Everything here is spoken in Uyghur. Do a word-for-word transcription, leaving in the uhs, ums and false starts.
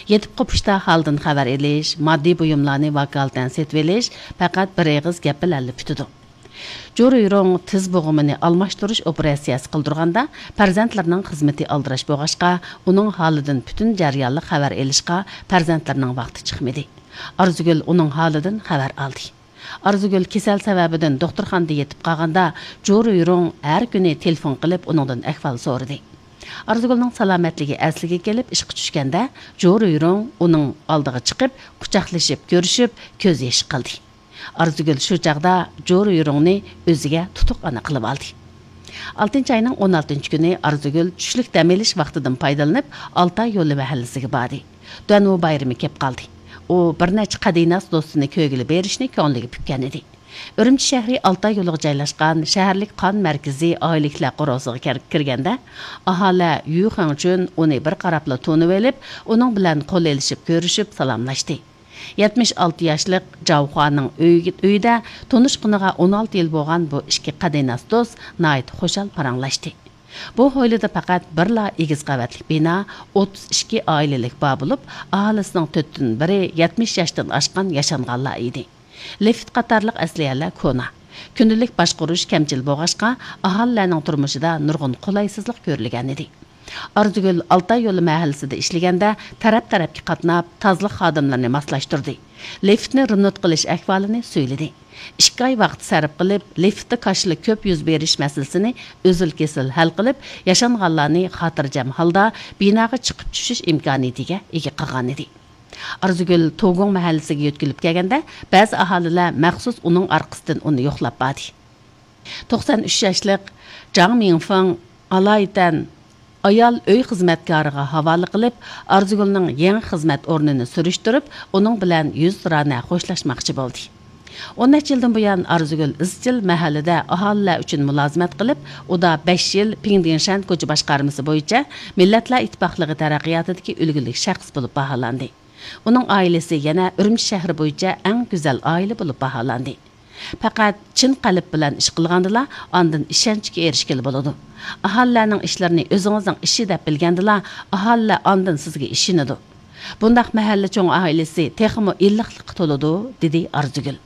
يېتىپ قوپۇشتا ھالدىن خەۋەر ئېلىش، ماددىي بۇيۇملارنى ۋاكالىتەن سېتىۋېلىش پەقەت بىر ئېغىز گەپ بىلەنلا پۈتىدۇ. جورۇيرۇڭ تىز بوغۇمىنى ئالماشتۇرۇش ئوپېراتسىيەسى قىلدۇرغاندا، پەرزەنتلىرىنىڭ خىزمىتى ئالدىراش بولغاچقا، ئۇنىڭ ھالىدىن پۈتۈن جەريانلىق خەۋەر ئېلىشقا پەرزەنتلىرىنىڭ ۋاقتى چىقمىدى. ئارزۇگۈل ئۇنىڭ ھالىدىن خەۋەر ئالدى. ئارزۇگۈل كېسەل سەۋەبىدىن دوختۇرخانىدا يېتىپ قالغاندا، جورۇيرۇڭ ھەر كۈنى تېلېفون قىلىپ ئۇنىڭدىن ئەھۋال سورىدى. ئارزۇگۈلنىڭ سالامەتلىكى ئەسلىگە كېلىپ ئىشقا چۈشكەندە، جورۇيرۇڭ ئۇنىڭ ئالدىغا چىقىپ، قۇچاقلىشىپ كۆرۈشۈپ، كۆز يېشى قىلدى. ئارزۇگۈل شۇ چاغدا جورۇيرۇڭنى ئۆزىگە تۇتۇق ئانا قىلىۋالدى. ئالتىنچى ئاينىڭ ئون ئالتىنچى كۈنى ئارزۇگۈل چۈشلۈك دەم ئېلىش ۋاقتىدىن پايدىلىنىپ، ئالتاي يولى مەھەللىسىگە باردى. دۈەنۋۇ بايرىمى كېلىپ قالدى. ئۇ بىر نەچچە قەدىناس دوستىنى كۆرگىلى بېرىشنى كۆڭلىگە پۈككەن ئىدى. ئۈرۈمچى شەھىرى ئالتاي يولىغا جايلاشقان شەھەرلىك قان مەركىزى ئائىلىلىكلەر قورۇسىغا كىر-، كىرگەندە، ئاھالە يۈ خېڭچۈن ئۇنى بىر قاراپلا تونۇۋېلىپ، ئۇنىڭ بىلەن قول ئېلىشىپ كۆرۈشۈپ سالاملاشتى. يەتمىش ئالتە ياشلىق جاۋخۇانىڭ ئۆيىگە، ئۆيىدە تونۇشقىنىغا ئون ئالتە يىل بولغان بۇ ئىككى قەدىناس دوست ناھايىتى خۇشال پاراڭلاشتى. بۇ ھويلىدا پەقەت بىرلا ئېگىز قەۋەتلىك بىنا، ئوتتۇز ئىككى ئائىلىلىك بار بولۇپ، ئاھالىسىنىڭ تۆتتىن بىرى يەتمىش ياشتىن ئاشقان ياشانغانلار ئىدى. لىفىت قاتارلىق ئەسلىھەلەر كونا. كۈندىلىك باشقۇرۇش كەمچىل بولغاچقا، ئاھالىلەرنىڭ تۇرمۇشىدا نۇرغۇن قولايسىزلىق كۆرۈلگەنىدى. ئارزۇگۈل ئالتاي يولى مەھەللىسىدە ئىشلىگەندە، تەرەپ-تەرەپكە قاتناپ، تازىلىق خادىملىرىنى ماسلاشتۇردى. لىفتنى رېمونت قىلىش ئەھۋالىنى سۆيلىدى. ئىككى ئاي ۋاقىت سەرپ قىلىپ، لىفتتا كاشىلا كۆپ يۈز بېرىش مەسىلىسىنى ئۈزۈل-كېسىل ھەل قىلىپ، ياشانغانلارنى خاتىرجەم ھالدا بىناغا چىقىپ چۈشۈش ئىمكانىيىتىگە ئىگە قىلغانىدى. ئارزۇگۈل توگۇڭ مەھەللىسىگە يۆتكىلىپ كەلگەندە، بەزى ئاھالىلەر مەخسۇس ئۇنىڭ ئارقىسىدىن ئۇنى يوقلاپ باردى. توقسان ئۈچ ياشلىق جاڭ مىڭفېڭ ئالايىتەن ئايال ئۆي خىزمەتكارىغا ھاۋالە قىلىپ، ئارزۇگۈلنىڭ يېڭى خىزمەت ئورنىنى سۈرۈشتۈرۈپ، ئۇنىڭ بىلەن يۈزتۇرانە خوشلاشماقچى بولدى. ئون نەچچە يىلدىن بۇيان ئارزۇگۈل ئىزچىل مەھەللىدە ئاھالىلەر ئۈچۈن مۇلازىمەت قىلىپ، ئۇدا بەش يىل پىڭدىڭشەن كوچا باشقارمىسى بويىچە مىللەتلەر ئىتتىپاقلىقى تەرەققىياتىدىكى ئۈلگىلىك شەخس بولۇپ باھالاندى. ئۇنىڭ ئائىلىسى يەنە ئۈرۈمچى شەھىرى بويىچە ئەڭ گۈزەل ئائىلە بولۇپ باھالاندى. پەقەت چىن قەلب بىلەن ئىش قىلغاندىلا، ئاندىن ئىشەنچكە ئېرىشكىلى بولىدۇ. ئاھالىلەرنىڭ ئىشلىرىنى ئۆزىڭىزنىڭ ئىشى دەپ بىلگەندىلا، ئاھالىلەر ئاندىن سىزگە ئىشىنىدۇ. بۇنداق مەھەللە چوڭ ئائىلىسى تېخىمۇ ئىللىقلىققا تولىدۇ، دېدى ئارزۇگۈل.